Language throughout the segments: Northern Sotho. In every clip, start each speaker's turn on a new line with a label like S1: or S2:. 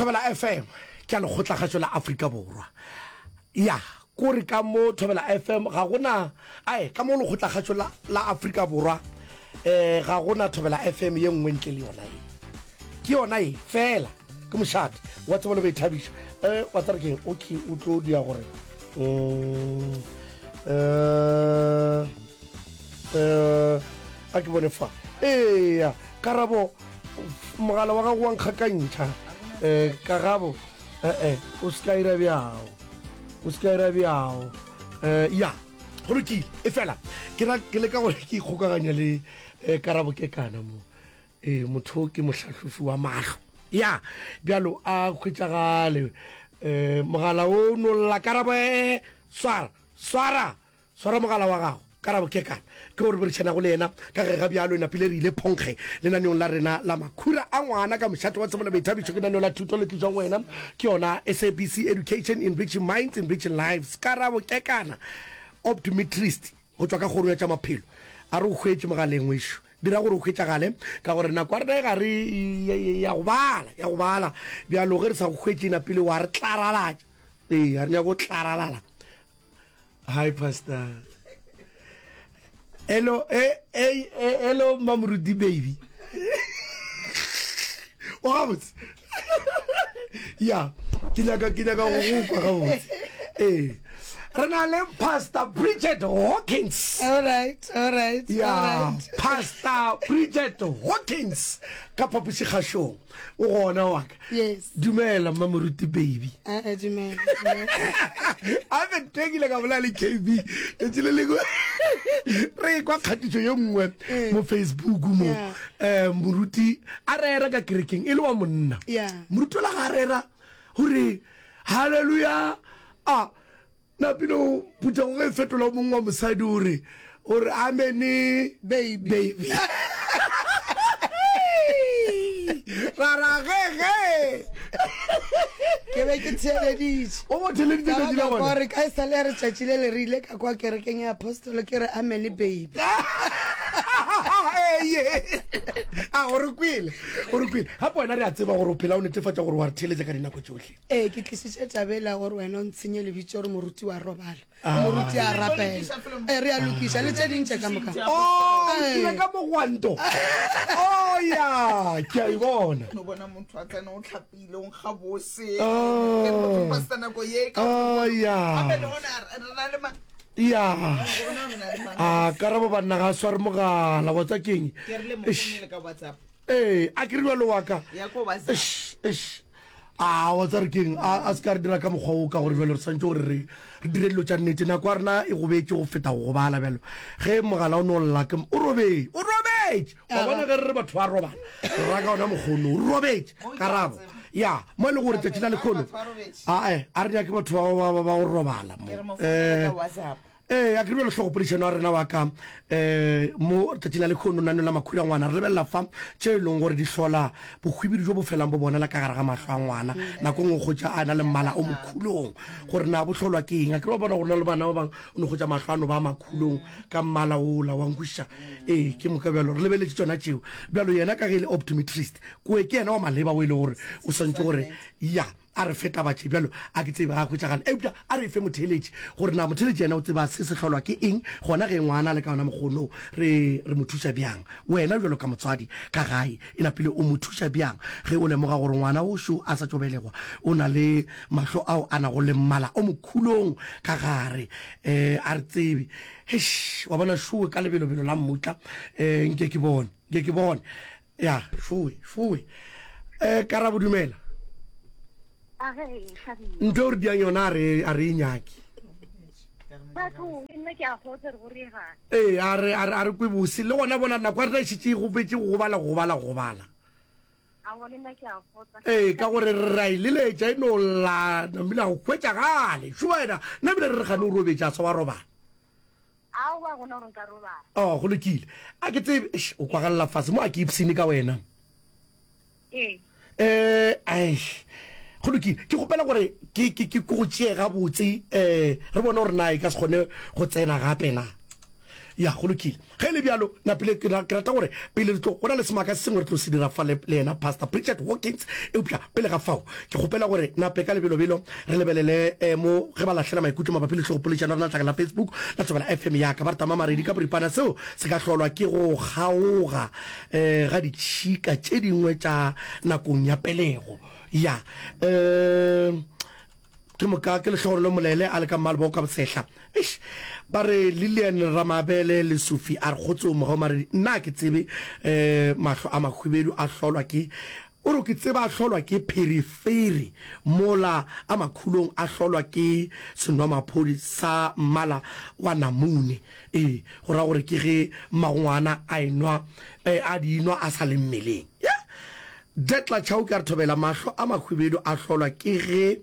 S1: Thobela FM ke ya lekgotlakgašo la Afrika Borwa. Ya, kore ka mo Thobela FM ga gona ae ka mo lekgotlakgašo la, la Afrika Borwa eh ga gona Thobela FM ye nngwe ntle le yona ye. Ke yona ye fela ke mošate wa tsebo le boithabišo. Eh wa tsare keng okay o tlo dia gore mm, eh eh a ke bone fa eya karabo mogala wa gago wa nkgakantšha um karabo ee o se ka ira bjao o se ka ira bjao um ya go lokile e fela ke ra ke leka gore ke ikgokaganya le um karabo ke kana mo ee motho ke mohlahlofi wa mahlo ya bjalo a hwetšagale um mogala o nolla karabo e swara swara Swara mogala wa gago. Karabo Kekana ke o re boledišanago le yena ka ge ga bjalo e napile re ile phonkge lenaneong la rena la Makhura a Ngwana ka mošate wa tsebo le boithabišo. Ke lenaneo la thuto le tlišwang go wena ke yona SABC Education, Enriching Minds, Enriching Lives. Karabo Kekana, optometrist go tšwa ka kgorong ya tša maphelo, a re o hwetše mogaleng wešo. Dira gore o hwetšagale ka gore nako ya rena e gare ya go bala, ya go bala. Bjalo ge re sa go hwetše e napile wa re tlaralatša. Ee, ga re nyake go tlaralala. Hi pastor. Hello, eh, eh, eh, hello Mamoruti baby. O gabotse. Ya, ke nyaka ke nyaka go go kwa gabotse. Eh. Re na le Pastor Bridget Hawkins.
S2: All right, all right,
S1: Ya,
S2: all right.
S1: Pastor Bridget Hawkins ka phapošikgašong. O gona wa ka.
S2: Yes.
S1: Dumela Mmamoruti baby.
S2: Eh, eh, dumela. dumela.
S1: A be tekile ka bolela le KB. Letši le lengwe re kwa kgatišo ye nngwe
S2: Eh.
S1: mo Facebook mo.
S2: Yeah.
S1: Eh moruti a rera ka kerekeng e le wa monna.
S2: Yeah.
S1: Moruti ola ga a rera gore hallelujah a Napile o phuthego ge e fetola o mongwe wa mosadi o re o re amene
S2: Baby.
S1: baby. Ra ra ge ge.
S2: Ke be ke theeleditše.
S1: O mo theeleditše
S2: Ka
S1: tšatši la
S2: ba ka kwa
S1: gona.
S2: gore ka e sa le ya re tšatši le le re ile ka kwa kerekeng ya apostolo ke re amene baby.
S1: Eye. A o re kwele. O re kwele. Gape wena re a tseba gore o phela o netefatša gore wa re theeletša ka dinako tšohle.
S2: Ee, ke tlisitše taba ela gore wena o ntshenye lebitso gore moruti wa robala, moruti a rapela. Ee, re a lokiša le tše ding tše ka moka.
S1: Oh, o kile ka mogwanto. Oh, ya, ke a e bona.
S3: No bona motho a tsena o tlhapile o nkga bose.
S1: Oh.
S3: Ke re motho pastor nako ye ka.
S1: Oh, ya.
S3: Gape le gona re na le ma.
S1: Ya.
S3: Gona re na le ma.
S1: A karabo banna ga a sware mogala wa tsa keng.
S3: Ke re le mo founele ka WhatsApp.
S1: Ee, a ke re bjalo wa ka.
S3: Ya ko WhatsApp.
S1: Eish, eish. A wa tsare keng a a se ka re dira ka mokgwa o ka gore bjalo re swantse gore re re dire dilo tša nnete nako ya rena e gobetše go feta go gobala bjalo ge mogala o no lla ke o robetše o robetše wa bona ge re re batho ba robala re ra ka ona mokgono o robetše karabo ya mo e le gore tšatši la lekgono ae a re nyake batho ba ba ba go robala mo
S3: Ke re mo founele
S1: eh
S3: ka WhatsApp.
S1: Ee, a ke re bjalo hlogopoledišano ya rena wa ka um mo tšatšing la lekhono nano la makhura ngwana re lebelela fa tše e leng gore di hlola bohwibidu jo bo felang bo bonala ka gare ga mahlo a ngwana nako nngwe kgotša a na le mmala o mokhulong gore na bo hlolwa ke eng a ke re wa bona gore na le bana ba bangwe o no kgotša mahlo a no ba makhulong ka mmala ola wa nkwešiša ee ke moka bjalo re lebeletše tšona tšeo bjalo yena ka ge e le optometrist koe ke yena wa maleba o e le gore o swantše gore ya A re fe taba tše bjalo, a ke tsebe ga a hwetšagale. Eupša a re e fe motheeletši, gore na motheeletši yena o tseba se se hlolwa ke eng, gona ge ngwana a le ka yona mokgono, re, re mo thuša bjang? Wena bjalo ka motswadi ka gae, e napile o mo thuša bjang ge o lemoga gore ngwana o šo a sa tšo belegwa o na le mahlo ao a nago le mmala o mokhulong ka gare? Eh, a re tsebe. Eish, wa bona šowe ka lebelobelo la mmutla, eh, nke ke bone, nke ke bone. Ya, šowe, šowe. Eh, Karabo dumela. Ntho e o re diang yona a re a re e nyake. Ee, a re a re a re kwe bose le gona bona nako ya rena e šetše e gobetše go gobala go gobala go gobala. Ee, ka gore re ra e leletša e no lla namile go hwetšagale. Šo wena, nna ebile re re gane o robetše a sa wa robala.
S4: Aowa, gona gore nka robala.
S1: Oh, go lokile. A ke tsebe, eish, o kwagalela fase mo, a ke ipshine ka wena.
S4: Ee.
S1: Eh, aish. Go lokile. Ke kgopela gore ke ke ke go tšee gabotse, eh, re bone gore na e ka se kgone go tsena gape na. Ya, go lokile. Ge e le bjalo, napile ke, ke rata gore pele re tlo, go na le semaka se sengwe re tlo se dira fa le, le yena Pastor Pritchard Hawkins, eupša pele ga fao, ke kgopela gore nape ka lebelobelo re lebelele eh, mo ge ba lahlela maikutlo mabapi le hlogopoledišano ya rena letlakeng la Facebook la Thobela FM ya ka. Ba re tama Maredi ka boripana seo se ka hlolwa ke go kgaoga eh, ga ditšhika tše dingwe tša nakong ya pelego. Ya, eh, Ke moka ke Lehlogonolo Molele a le ka Mmalebo ka Bosehla. Eish! Ba re Lillian Ramabele Lesufi a re kgotsong mogau Maredi nna a ke tsebe eh mahlo a mahwibedu a hlolwa ke o re ke tseba a hlolwa ke pherefere mola a makhulong a hlolwa ke senwamaphodi sa mmala wa namune. Ee, go ra gore ke ge mmagongwana a enwa eh, a di nwa a sa le mmeleng. Yeah! Detla Chauke a re thobela mahlo a mahwibedu a hlolwa ke ge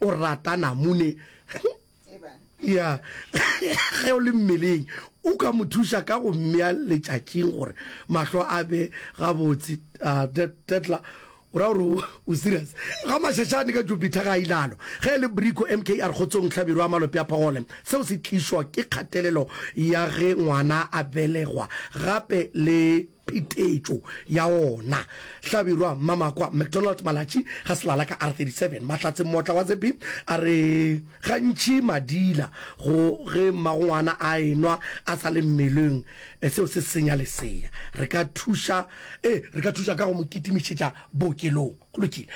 S1: o rata namune ya ge o le mmeleng o ka mo thuša ka go mmea letšatšing gore mahlo a be gabotse. Uh, Detla o ra gore o serious ga mašašane ka Jupiter ga a ilalo ge e le Brico MK a re kgotsong Hlabirwa Malope a Phogole seo se tlišwa ke kgatelelo ya ge ngwana a belegwa gape le phetetšo ya ona. Hlabirwa Mmamakwa McDonald Malatji ga Selala ka R37. Mahlatse Mmotla wa Zepi a re gantši madila go ge mmagongwana a enwa a sa le mmeleng seo se senya lesea. Re ka thuša e re ka thuša ka go mo kitimišetša bookelong. Go lokile.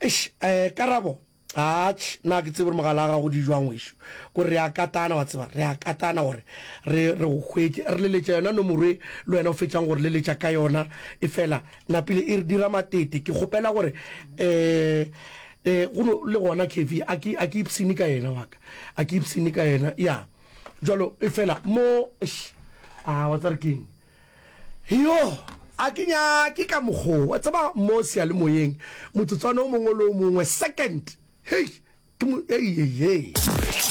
S1: Eish, eh, karabo Atšh, na ke tsebe gore mogala wa gago di jwang wešo. Kore re a katana, wa tseba, re a katana gore re, re go hwetše. Re leletša yona nomoro e le wena o fetšang go re leletša ka yona, efela napile e re dira matete. Ke kgopela gore, eh, eh, go no, le gona Kevy, a ke, a ke ipshine ka yena wa ka. A ke ipshine ka yena, ya. Jwalo, efela mo, eish, a, wa tseba re keng? Yo, a ke nyake ka mokgo, wa tseba, mo seyalemoyeng, motsotswana o mongwe le o mongwe, second, hei, ke mo, hei, hei, hei.